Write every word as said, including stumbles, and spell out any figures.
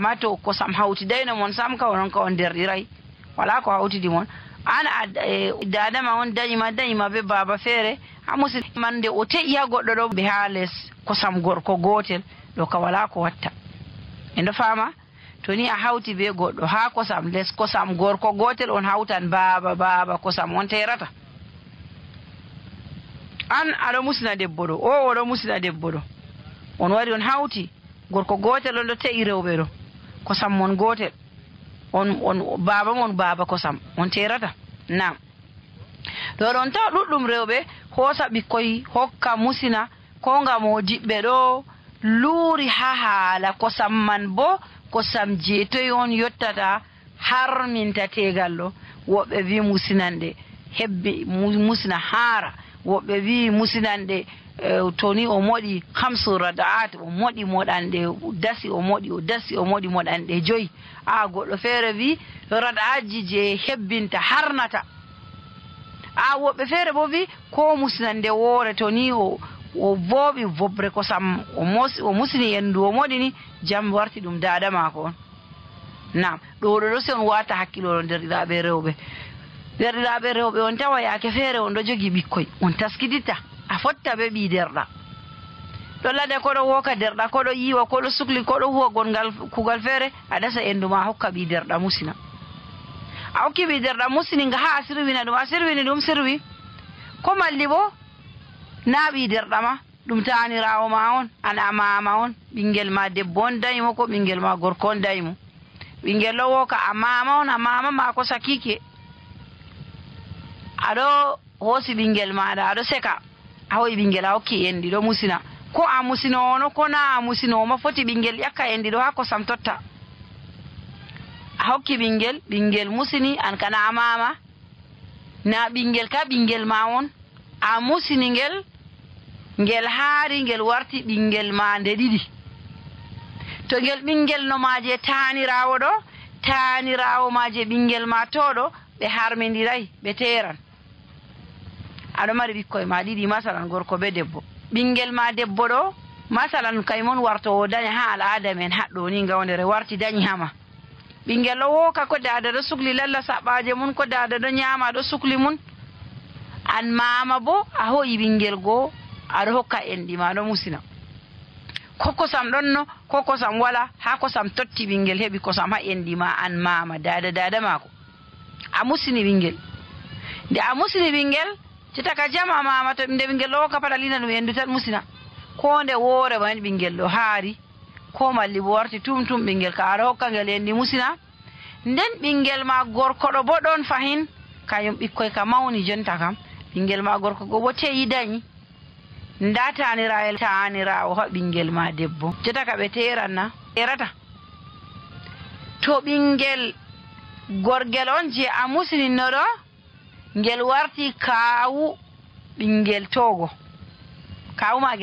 amma to kosam hawtidayno mon sam ka onon ka on derɗiray wala ko hawtidi mon an dadama on dañima dañima be baba feere ha musidman nde o teƴi ha goɗɗo ɗo ɓe ha less kosam gorko gotel ɗo ka wala ko watta e ndo fama to ni a hawti be goɗɗo ha kosam less kosam gorko gotel on hawtan baba baba kosam on terata an aɗo musina debbo ɗo o oɗo musina debbo ɗo on wari on hawti gorko gotel on ɗo te'i rewɓe ɗo kosam mon gotel on on baba mon baba kosam on terata nam ɗo ɗon taw ɗuɗɗum rewɓe hoosa ɓikkoy hokka musina ko ngam o diɓɓe ɗo luuri ha haala kosam man bo kosam jeetoy on yottata har minta tegal ɗo woɓɓe wi musinande hebbi musina haara woɓɓe wi musinande to ni o moɗi hamsu rada'at o moɗi moɗanɗe dasi o moɗi o dasi o moɗi moɗanɗe joyi a goɗɗo feere wi rada'atji je hebbinta harnata a woɓɓe feere bo wi ko musinande woore to ni o o booɓi bobre kosam o mosi o musini endu o moɗi ni jam warti ɗum dada maako on nam ɗo ɗo ɗo si on wata hakkilolo derɗiraɓe rewɓe derɗiraɓe rewɓe on tawa yaake feere on ɗo jogi ɓikkoy on taskiditta a fotta be ɓi derɗa ɗo lade koɗo woka derɗa koɗo yiwa koɗo sukli koɗo huwa gongal kugal feere a dasa endu ma hokka ɓi derɗa musina a hokki ɓi derɗa musini nga ha a sirwina ɗum a sirwini ɗum sirwi ko malli bo na ɓi derɗa ma ɗum tanirawo ma on an a mama on ɓinguel ma debbo on dayimo ko ɓinguel ma gorko on dayimo ɓinguel ɗo woka a mama on a mama ma ko sakike aɗo hoosi ɓinguel maɗa aɗo seka a hoyi ɓinguel a hokki endi ɗo musina ko a musinowono ko na a musinowoma foti ɓinguel ƴakka endi ɗo ha kosam totta a hokki ɓinguel ɓinguel musini an kana a mama na ɓinguel ka ɓinguel ma on a musini ngel ngel haari ngel warti ɓinguel ma nde ɗiɗi to ngel ɓinguel no maje tanirawo ɗo tanirawo maje ɓinguel ma toɗo ɓe harmidiray ɓe teran aɗo mari ɓikkoye ma ɗiɗi masalan gorko be debbo ɓinguel ma debbo ɗo masalan kaymon warto o daña ha al'ada men haɗɗo ni gawdere warti dañi hama ɓinguel ɗo woka ko dada ɗo sukli lalla saɓaje mum ko dada ɗo ñama ɗo sukli mum an mama bo a hoyi ɓinguel goo aɗo hokka enɗi ma ɗo musina ko kosam ɗonno ko kosam wala ha kosam totti ɓinguel heɓi kosam ha enɗi ma an mama dada dada mako a musini ɓinguel nde a musini ɓinguel citaka jama mama to nde ɓinguel ɗo hokka paɗalina ɗum endu tan musina ko nde woore ma ɓinguel ɗo haari ko malli bo warti tum tum ɓinguel ka aɗa hokka ngel enɗi musina nden ɓinguel ma gorko ɗo bo ɗon fahin kañum ɓikkoy ka mawni jonta kam ɓinguel ma gorko go bo teyi dañi nda tanirael tanirawo ha ɓinguel ma debbo cetaka ɓe teranna terata to ɓinguel gorgel on je a musinino ɗo ngel warti kawu ɓinguel togo kawu ma